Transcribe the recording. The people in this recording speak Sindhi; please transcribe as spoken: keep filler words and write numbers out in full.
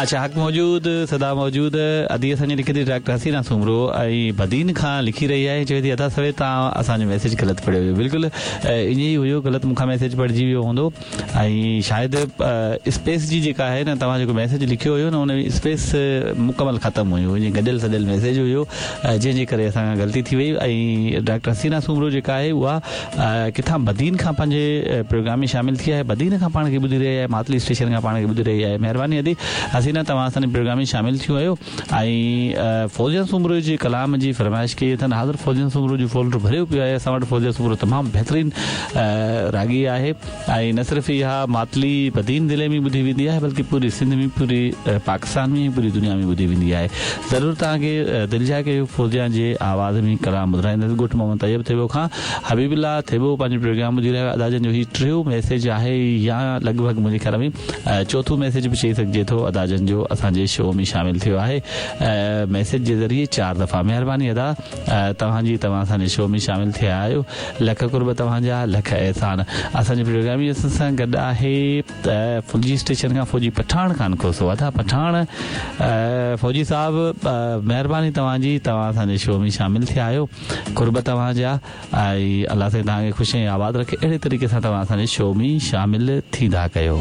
اڇا، حق موجود سدا موجود. ادي اسان جي لکي ٿي ڊاڪٽر حسينا سومرو ۽ بدين کان لکي رهي آهي، چوي ٿي ادا سوي توهان اسان جو ميسيج غلط پڙهيو ويو. بلڪل ائين ئي هيو، غلط مون کان ميسيج پڙهجي ويو هوندو ۽ شايد اسپيس جي جيڪا آهي نه، توهان جيڪو ميسيج لکيو هيو نه، ان ۾ اسپيس مڪمل ختم هيو، ائين گڏيل سڏيل ميسيج هيو، جنهن جي ڪري اسان کان غلطي ٿي وئي. ۽ ڊاڪٽر حسينا سومرو جيڪا آهي اها ڪٿان بدين کان پنهنجي پروگرام ۾ شامل ٿي آهي، بدين کان پاڻ کي ٻڌي رهي آهي، ماتلي اسٽيشن کان پاڻ کي ٻڌي رهي آهي. مهرباني ادي حسينا، توهان اسان جي پروگرام ۾ شامل ٿيون آهيو ۽ فوزيا سومرو جي ڪلام جي فرمائش ڪئي اٿن. حاضر، فوزيا سومرو جو فولڊر ڀريو پيو آهي اسان وٽ. فوزيا سومرو تمام بهترين راڳي آهي ۽ نه صرف اها ماتلي بدين ضلعي ۾ ٻڌي ويندي آهي، بلڪه پوري سنڌ ۾، پوري پاڪستان ۾، پوري دنيا ۾ ٻڌي ويندي آهي. ضرور توهان کي دلجاءِ ڪيو فوزيا جي آواز ۾ ڪلام ٻڌرائيندس. ڳوٺ محمد طيب ٿيٻو کان حبيب الله ٿيٻو پنهنجو پروگرام ٻڌي رهيو آهي. ادا جن جو هي ٽيون ميسيج آهي يا لڳ ڀڳ منهنجي خيال ۾ چوٿون ميسيج به چئي سگهجي ٿو، ادا جن جو اسان جي شو ۾ شامل ٿيو آهي ميسيج جي ذريعي چار دفعا. مهرباني ادا توهان جي، توهان اسان جي شو ۾ شامل ٿيا آهيو. لک قرب توهان جا، لک احسان. اسان جي پروگرام ۾ اسان سان گڏ آهي ڦلجي اسٽيشن کان فوجي پٺاڻ خان کوسو. ادا پٺاڻ فوجي صاحب، مهرباني توهان جي، توهان اسان جي شو ۾ شامل ٿيا آهيو. قرب توهان جا ۽ الله سائين توهان کي خوش ۽ آباد رکي. اهڙي طريقي سان توهان اسان جي شو ۾ شامل ٿيندا ڪيو.